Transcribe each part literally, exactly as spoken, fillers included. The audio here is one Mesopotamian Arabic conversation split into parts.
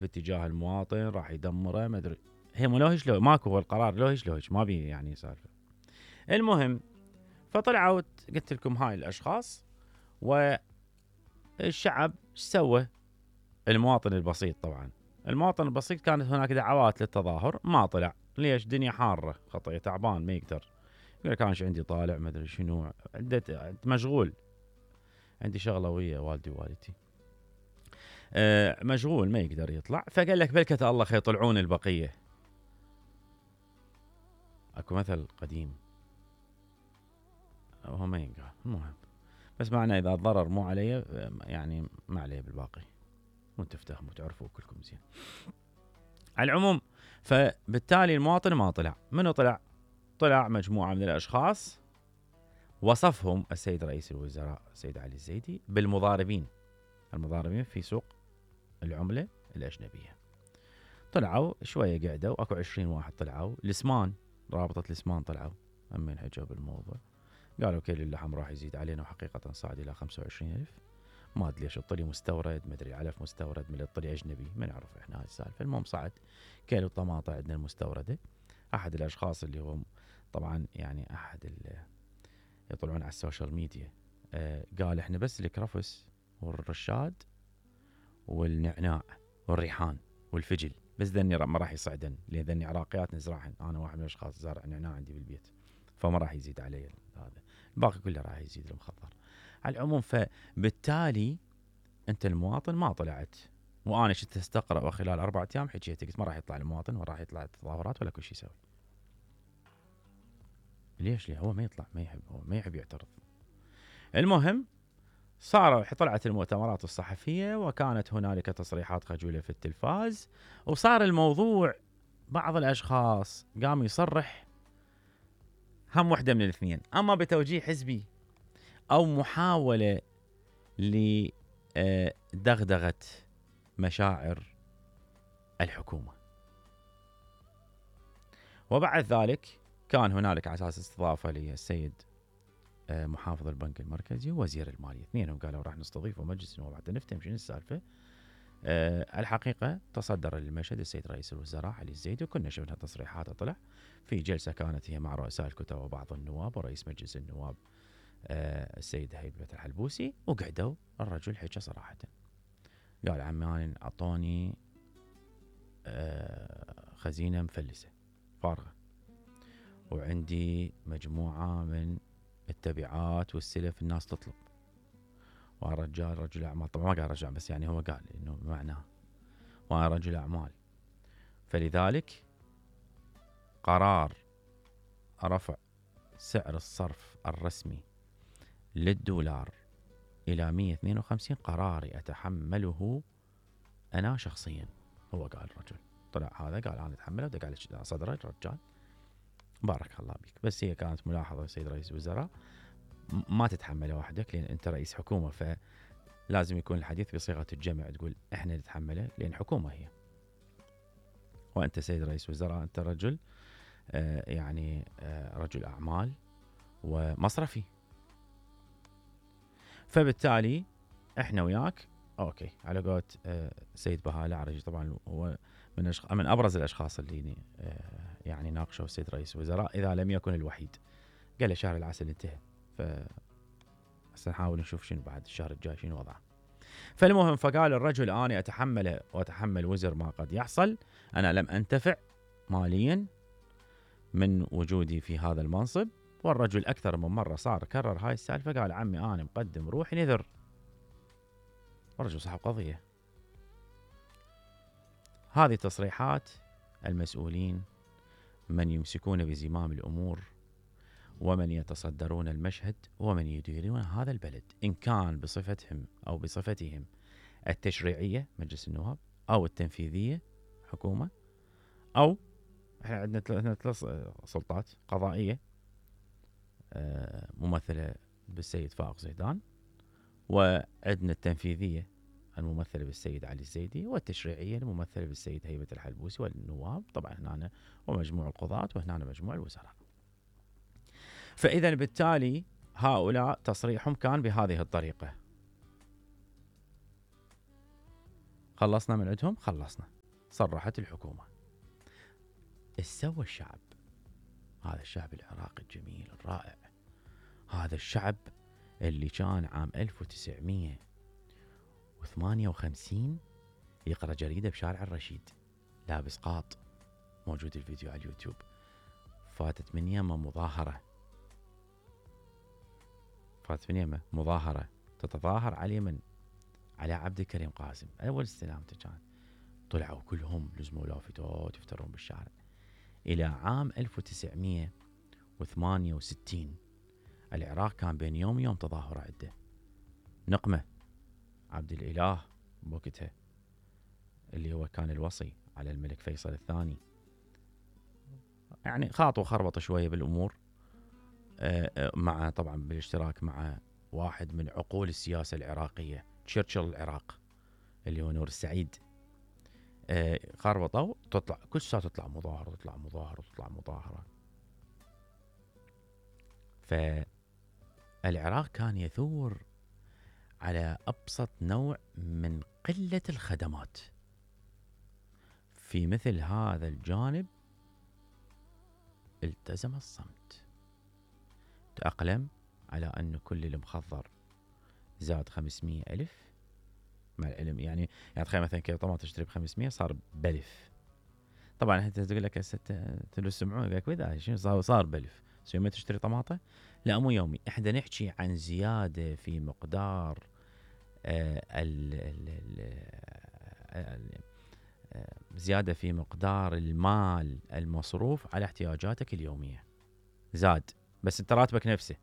باتجاه المواطن راح يدمره ما ادري. هي مو لوهش لو ماكو هو القرار لوهش لوهش ما بي يعني سالفه. المهم فطلعوا قلت لكم هاي الاشخاص والشعب ايش سوى؟ المواطن البسيط طبعا المواطن البسيط كانت هناك دعوات للتظاهر ما طلع. ليش؟ دنيا حاره خطيه تعبان ما يقدر يقول لك انا ايش عندي طالع ما ادري شنو عدت مشغول عندي شغله ويا والدي ووالدتي أه مشغول ما يقدر يطلع. فقال لك بلكة الله خير يطلعون البقيه. اكو مثل قديم هو ما ينقال المهم بس معنى اذا الضرر مو علي يعني ما عليه بالباقي وانتم تفهموا تعرفوا كلكم زين. على العموم فبالتالي المواطن ما طلع. منو طلع؟ طلع مجموعه من الاشخاص وصفهم السيد رئيس الوزراء السيد علي الزيدي بالمضاربين. المضاربين في سوق العمله الاجنبيه. طلعوا شويه قعدوا اكو عشرين واحد طلعوا. الاسمان رابطه الاسمان طلعوا همين حجوا بالموضوع قالوا كيل اللحم راح يزيد علينا وحقيقه صعد الى خمسة وعشرين ألف. ما ادري ليش الطلي مستورد ما ادري علف مستورد من الطلي اجنبي ما نعرف احنا هاي السالفه. المهم صعد كيلو الطماطه عندنا المستورده. احد الاشخاص اللي هو طبعا يعني احد اللي يطلعون على السوشيال ميديا آه قال احنا بس الكرفس والرشاد والنعناع والريحان والفجل بس ذني ما راح يصعدن لان ذني عراقيات نزرعهن. انا واحد من الاشخاص زارع نعناع عندي بالبيت فما راح يزيد علي هذا. الباقي كله راح يزيد المخضر. على العموم فبالتالي انت المواطن ما طلعت وانا شفت استقرا خلال اربعة ايام حكيت قلت ما راح يطلع المواطن ولا راح يطلع التظاهرات ولا كل شيء يسوي. ليش؟ ليه هو ما يطلع ما يحب هو ما يحب يعترض. المهم صار طلعت المؤتمرات الصحفيه وكانت هنالك تصريحات خجوله في التلفاز وصار الموضوع بعض الاشخاص قام يصرح هم وحده من الاثنين اما بتوجيه حزبي او محاوله لدغدغه مشاعر الحكومه. وبعد ذلك كان هنالك على اساس استضافه للسيد محافظ البنك المركزي ووزير الماليه اثنينهم قالوا راح نستضيفه مجلس النواب حتى نفتهم شنو السالفه. أه الحقيقه تصدر للمشهد السيد رئيس الوزراء علي الزيدي وكنا شفنا تصريحاته طلع في جلسه كانت هي مع رؤساء الكتل وبعض النواب ورئيس مجلس النواب أه السيد هيبه الحلبوسي وقعدوا الرجل حكى صراحه قال عمي اعطوني أه خزينه مفلسه فارغه وعندي مجموعه من التبعات والسلف الناس تطلب ورجال رجل اعمال طبعا ما قال رجع بس يعني هو قال انه معناه وانا رجل اعمال فلذلك قرار رفع سعر الصرف الرسمي للدولار الى مية واثنين وخمسين قراري اتحمله انا شخصيا. هو قال الرجل طلع هذا قال انا اتحمله ودق على صدره الرجال بارك الله بك. بس هي كانت ملاحظه السيد رئيس الوزراء ما تتحمله وحدك لان انت رئيس حكومه فلازم يكون الحديث بصيغه الجمع تقول احنا نتحمله لان حكومه هي وانت سيد رئيس وزراء انت رجل آه يعني آه رجل اعمال ومصرفي فبالتالي احنا وياك اوكي على قولة آه سيد بهاء العرجي طبعا هو من أشخ... من ابرز الاشخاص اللي آه يعني ناقشوا السيد رئيس الوزراء اذا لم يكن الوحيد. قال له شهر العسل انتهى ف سنحاول نشوف شنو بعد الشهر الجاي شنو وضعه. فالمهم فقال الرجل أنا أتحمل وأتحمل وزر ما قد يحصل. أنا لم أنتفع ماليا من وجودي في هذا المنصب. والرجل أكثر من مرة صار كرر هاي السالفة قال عمي أنا مقدم روحي نذر. الرجل صاحب قضية. هذه تصريحات المسؤولين من يمسكون بزمام الأمور ومن يتصدرون المشهد ومن يديرون هذا البلد إن كان بصفتهم أو بصفتهم التشريعية مجلس النواب أو التنفيذية حكومة أو احنا عندنا ثلاث سلطات قضائية ممثلة بالسيد فائق زيدان وعندنا التنفيذية الممثلة بالسيد علي الزيدي والتشريعية الممثلة بالسيد هيبة الحلبوسي والنواب طبعا هنا ومجموع القضاة وهنا مجموع الوزراء. فإذا بالتالي هؤلاء تصريحهم كان بهذه الطريقة. خلصنا من عندهم، خلصنا. صرحت الحكومة. ايش سوى الشعب؟ هذا الشعب العراقي الجميل الرائع، هذا الشعب اللي كان عام ألف وتسعمية وثمانية وخمسين يقرأ جريدة بشارع الرشيد لابس قاط، موجود الفيديو على اليوتيوب. فاتت من يمه مظاهرة، فاتت من يمه مظاهرة تتظاهر على اليمن على عبد الكريم قاسم، أول استلامته كان طلعوا كلهم لزموا لافتات يفترون بالشارع. إلى عام ألف وتسعمية وثمانية وستين العراق كان بين يوم ويوم تظاهرة عنده. نقمة عبد الإله بوقتها اللي هو كان الوصي على الملك فيصل الثاني، يعني خاطوا خربطوا شوية بالأمور، مع طبعا بالاشتراك مع واحد من عقول السياسة العراقية تشرشل العراق اللي هو نور السعيد. خربطوا، تطلع كل ساعة تطلع مظاهرة تطلع مظاهرة تطلع مظاهرة. فالعراق كان يثور على أبسط نوع من قلة الخدمات. في مثل هذا الجانب التزم الصمت، تأقلم على أن كل المخضر زاد خمسمية ألف مع العلم. يعني يعني تخيل مثلا كيلو طماطم تشتري بخمسمية صار بألف. طبعا انت تقول لك هسه تلو السمعون يقول لك وذا شنو صار صار بألف. يوميا تشتري طماطم؟ لا مو يومي، احنا نحكي عن زيادة في مقدار آه ال ال ال آه زيادة في مقدار المال المصروف على احتياجاتك اليومية زاد، بس انت راتبك نفسه.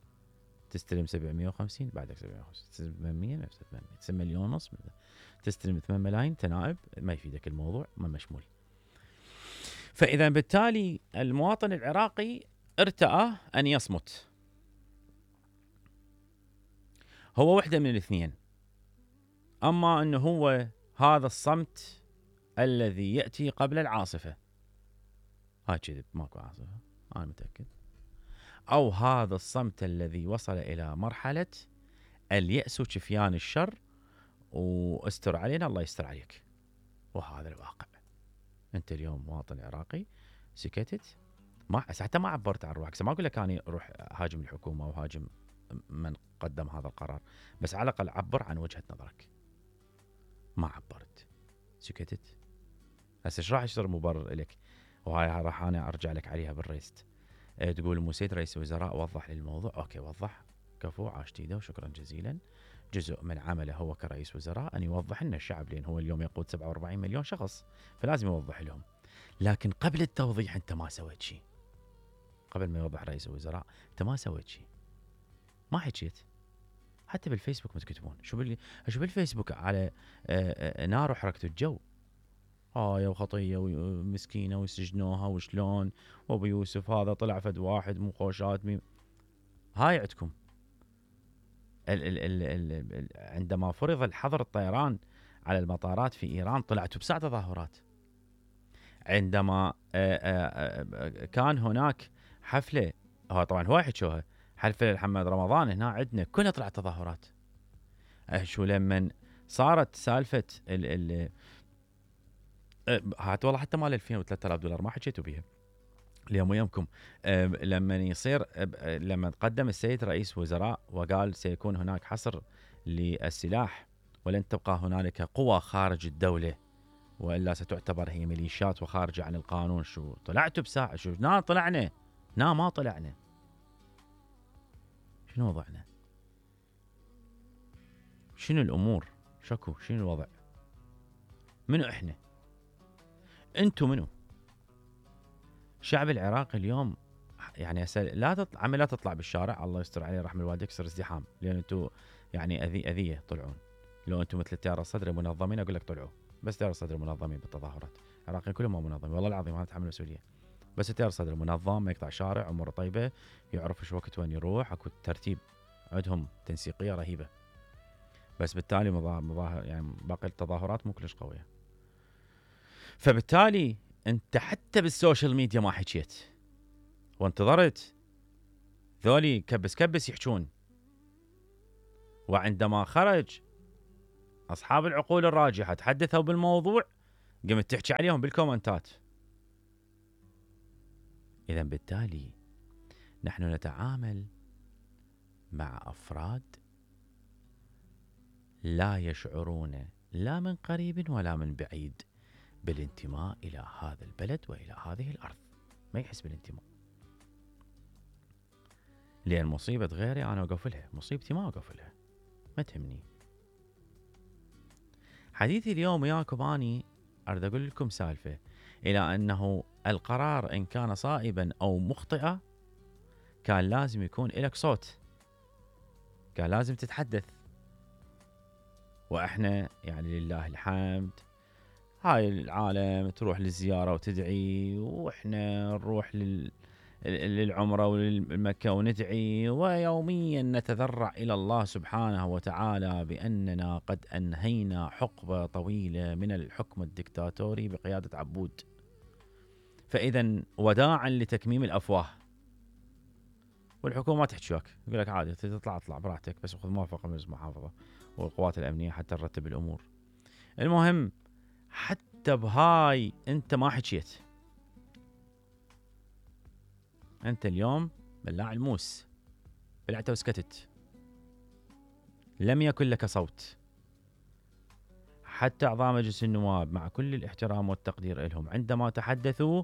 تستلم سبعمية وخمسين بعدك سبعمية وخمسين، ثمانمية نفسه ثمانمية، تسمى مليون ونص، تستلم ثمانية ملايين تنائب، ما يفيدك الموضوع، ما مشمول. فإذا بالتالي المواطن العراقي ارتأى أن يصمت. هو وحدة من الاثنين، أما أنه هو هذا الصمت الذي يأتي قبل العاصفة، هاي كذب ماكو عاصفة أنا متأكد، أو هذا الصمت الذي وصل إلى مرحلة اليأس وشفيان الشر واستر علينا الله يستر عليك. وهذا الواقع. أنت اليوم مواطن عراقي سكتت، ما حتى ما عبرت عن روحك. ما أقول لك أنا روح هاجم الحكومة أو هاجم من قدم هذا القرار، بس على الأقل عبر عن وجهة نظرك. ما عبرت، سكتت. هسه ايش راح يصير مبرر لك؟ وهاي راح أنا أرجع لك عليها بالريست. أه تقول مو سيد رئيس الوزراء وضح لي الموضوع. أوكي وضح، كفو، عاش تيده وشكرا جزيلا. جزء من عمله هو كرئيس وزراء أن يوضح لنا الشعب، لأن هو اليوم يقود سبعة وأربعين مليون شخص، فلازم يوضح لهم. لكن قبل التوضيح أنت ما سويت شيء. قبل ما يوضح رئيس الوزراء أنت ما سويت شيء، ما حكيت. حتى بالفيسبوك ما تكتبون. شو بال شو بالفيسبوك على نار وحركة الجو، هاي وخطية ومسكينة وسجنوها وشلون، وابو يوسف هذا طلع فد واحد مو خوشات مي. هاي عندكم. ال ال ال ال ال عندما فرض الحظر الطيران على المطارات في إيران طلعتوا بساعة تظاهرات. عندما آآ آآ كان هناك حفلة، هو طبعا هو يحكوها حفلة محمد رمضان هنا عندنا، كلها طلعت تظاهرات. شو لمن صارت سالفة ال ال هات والله حتى مال ألفين وثلاثة آلاف دولار ما حكيتوا بيها اليوم ويامكم. لما يصير لما تقدم السيد رئيس وزراء وقال سيكون هناك حصر للسلاح ولن تبقى هنالك قوى خارج الدولة وإلا ستعتبر هي ميليشيات وخارجة عن القانون. شو طلعتوا بساعة؟ شو نا طلعنا؟ نا ما طلعنا. شنو وضعنا؟ شنو الأمور؟ شكو شنو الوضع؟ منو إحنا؟ أنتو منو؟ الشعب العراقي اليوم يعني لا تطلع عمل لا تطلع بالشارع، الله يستر عليه رحم الوالدين، يكسر ازدحام، لأن أنتو يعني أذي أذية طلعون. لو أنتو مثل التيار الصدري منظمين أقول لك طلعوا، بس تيار الصدري منظمين بالتظاهرات. العراقيين كلهم ما منظمين والله العظيم، ما نتحمل مسؤولية. بس التيار الصدري منظم، ما يقطع شارع، أموره طيبة، يعرف ايش وقت وين يروح، اكو ترتيب عندهم تنسيقية رهيبة. بس بالتالي مظاهر يعني باقي التظاهرات مو كلش قوية. فبالتالي انت حتى بالسوشيال ميديا ما حكيت وانتظرت ذولي كبس كبس يحجون. وعندما خرج اصحاب العقول الراجحه تحدثوا بالموضوع، قمت تحكي عليهم بالكومنتات. اذا بالتالي نحن نتعامل مع افراد لا يشعرون لا من قريب ولا من بعيد بالانتماء الى هذا البلد والى هذه الارض، ما يحس بالانتماء. لان مصيبه غيري انا اوقف لها، مصيبتي ما اوقف لها، ما تهمني. حديثي اليوم وياكم اني اريد اقول لكم سالفه، الى انه القرار ان كان صائبا او مخطئا كان لازم يكون لك صوت، كان لازم تتحدث. واحنا يعني لله الحمد هاي العالم تروح للزياره وتدعي، واحنا نروح لل للعمره وللمكه وندعي، ويوميا نتذرع الى الله سبحانه وتعالى باننا قد انهينا حقبه طويله من الحكم الدكتاتوري بقياده عبود. فاذا وداعا لتكميم الافواه. والحكومه ما تحكي وياك، يقول لك عادي تطلع اطلع براحتك، بس خذ موافقه من المحافظه والقوات الامنيه حتى نرتب الامور. المهم حتى بهاي انت ما حكيت، انت اليوم بلاع الموس، بلعت وسكتت، لم يكن لك صوت. حتى اعضاء مجلس النواب مع كل الاحترام والتقدير لهم عندما تحدثوا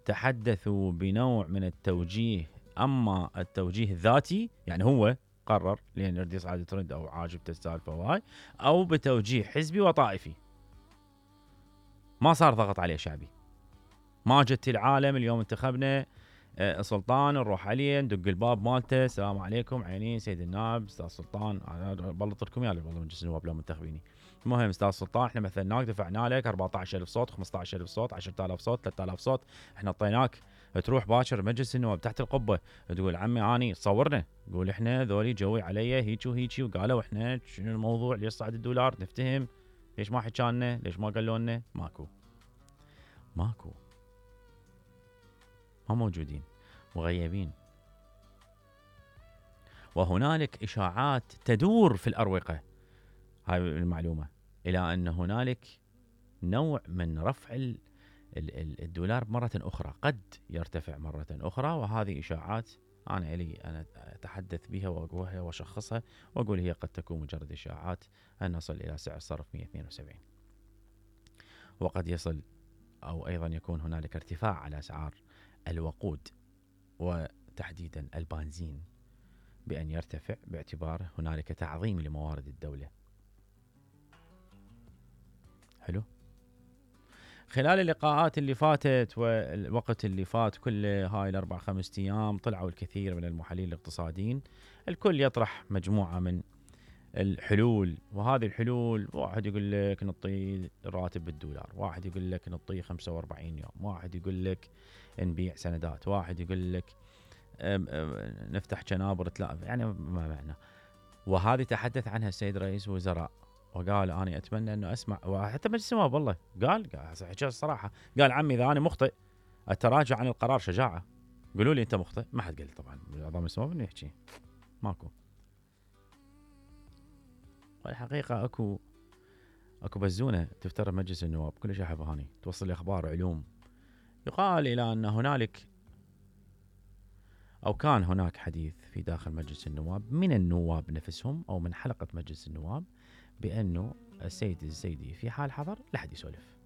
تحدثوا بنوع من التوجيه، اما التوجيه الذاتي يعني هو قرر لان يريد يصعد ترند او عاجبته السالفه وهاي، او بتوجيه حزبي وطائفي. ما صار ضغط عليه شعبي. ما جت العالم اليوم انتخبنا سلطان نروح عليه ندق الباب مالته، السلام عليكم عينين سيد النائب استاذ سلطان، انا بلط لكم اياه والله مجلس النواب لو منتخبيني. المهم استاذ سلطان احنا مثلناك دفعنا لك أربعة عشر ألف صوت خمسة عشر ألف صوت عشرة آلاف صوت ثلاثة آلاف صوت، احنا اعطيناك تروح باكر مجلس النواب تحت القبه تقول عمي اني صورنا، قول احنا ذولي جوي علي هيك وهيك وقالوا احنا شنو الموضوع ليش صعد الدولار نفتهم، ليش ما حكى لنا، ليش ما قالوا لنا؟ ماكو ماكو ما موجودين، مغيبين. وهنالك إشاعات تدور في الأروقة، هاي المعلومة، إلى أن هنالك نوع من رفع الدولار مرة أخرى، قد يرتفع مرة أخرى. وهذه إشاعات أنا إلي أنا أتحدث بها وأقولها وأشخصها وأقول هي قد تكون مجرد إشاعات، أن نصل إلى سعر صرف مئة واثنين وسبعين، وقد يصل أو أيضا يكون هنالك ارتفاع على أسعار الوقود وتحديدا البنزين بأن يرتفع باعتبار هنالك تعظيم لموارد الدولة. حلو. خلال اللقاءات اللي فاتت والوقت اللي فات كله هاي الأربع خمس أيام طلعوا الكثير من المحللين الاقتصاديين، الكل يطرح مجموعة من الحلول. وهذه الحلول واحد يقول لك نعطي راتب بالدولار، واحد يقول لك نعطي خمسة وأربعين يوم، واحد يقول لك نبيع سندات، واحد يقول لك أم أم نفتح جنابر ثلاثة، يعني ما معنى. وهذه تحدث عنها السيد رئيس الوزراء وقال أنا أتمنى أنه أسمع، وحتى مجلس النواب والله قال قال الصراحة، قال عمي إذا أنا مخطئ التراجع عن القرار شجاعة، قولوا لي أنت مخطئ. ما حد قال طبعا أعضاء مجلس النواب إنه يحكي، ماكو. والحقيقة أكو أكو بزونة تفترض مجلس النواب كل شيء حبهاني توصل لي أخبار علوم، يقال إلى أن هنالك أو كان هناك حديث في داخل مجلس النواب من النواب نفسهم أو من حلقة مجلس النواب بأنه السيد الزيدي في حال حضر لا حد يسولف،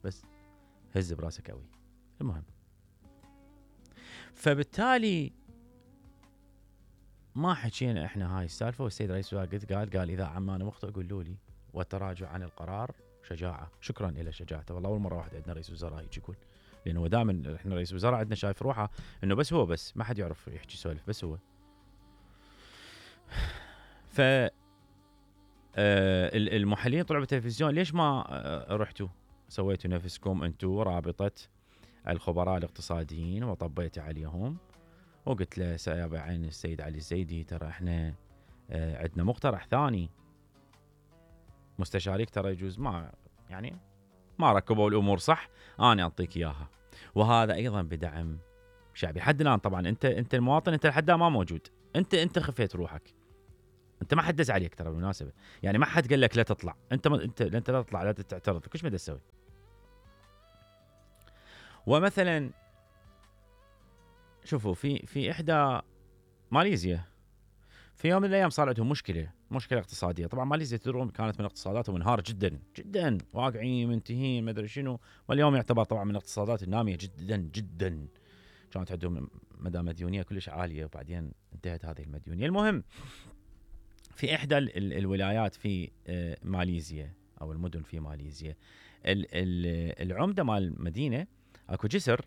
بس هز براسك قوي. المهم فبالتالي ما حكينا احنا هاي السالفه، والسيد رئيس الوزراء قال قال اذا عم انا مخطئ قولوا لي، والتراجع عن القرار شجاعه. شكرا الى شجاعته، والله اول مره واحد عندنا رئيس وزراء هيك يقول، لانه دائما احنا رئيس وزراء عندنا شايف روحه انه بس هو، بس ما حد يعرف يحكي سولف، بس هو. ف المحللين طلعوا بالتلفزيون، ليش ما رحتوا سويتوا نفسكم انتم رابطه الخبراء الاقتصاديين وطبيت عليهم وقلت له سيابع عين السيد علي الزيدي ترى احنا عندنا مقترح ثاني، مستشاريك ترى يجوز ما يعني ما ركبوا الامور صح، انا اعطيك اياها. وهذا ايضا بدعم شعبي. حد الان طبعا انت انت المواطن، انت لحد ما موجود، انت انت خفيت روحك، انت ما حد دز عليك ترى بالمناسبه، يعني ما حد قال لك لا تطلع، انت ما انت انت لا تطلع لا تعترض، كل ما تسوي. ومثلا شوفوا في في احدى ماليزيا في يوم من الايام صار عندهم مشكله مشكله اقتصاديه. طبعا ماليزيا تدرون كانت من اقتصاداتهم منهاره جدا جدا، واقعين منتهين ما ادري شنو، واليوم يعتبر طبعا من الاقتصادات الناميه جدا جدا. كانت عندهم مدى مديونيه كلش عاليه، وبعدين انتهت هذه المديونيه. المهم في احدى ال ال الولايات في ماليزيا او المدن في ماليزيا، ال ال العمده مال المدينه اكو جسر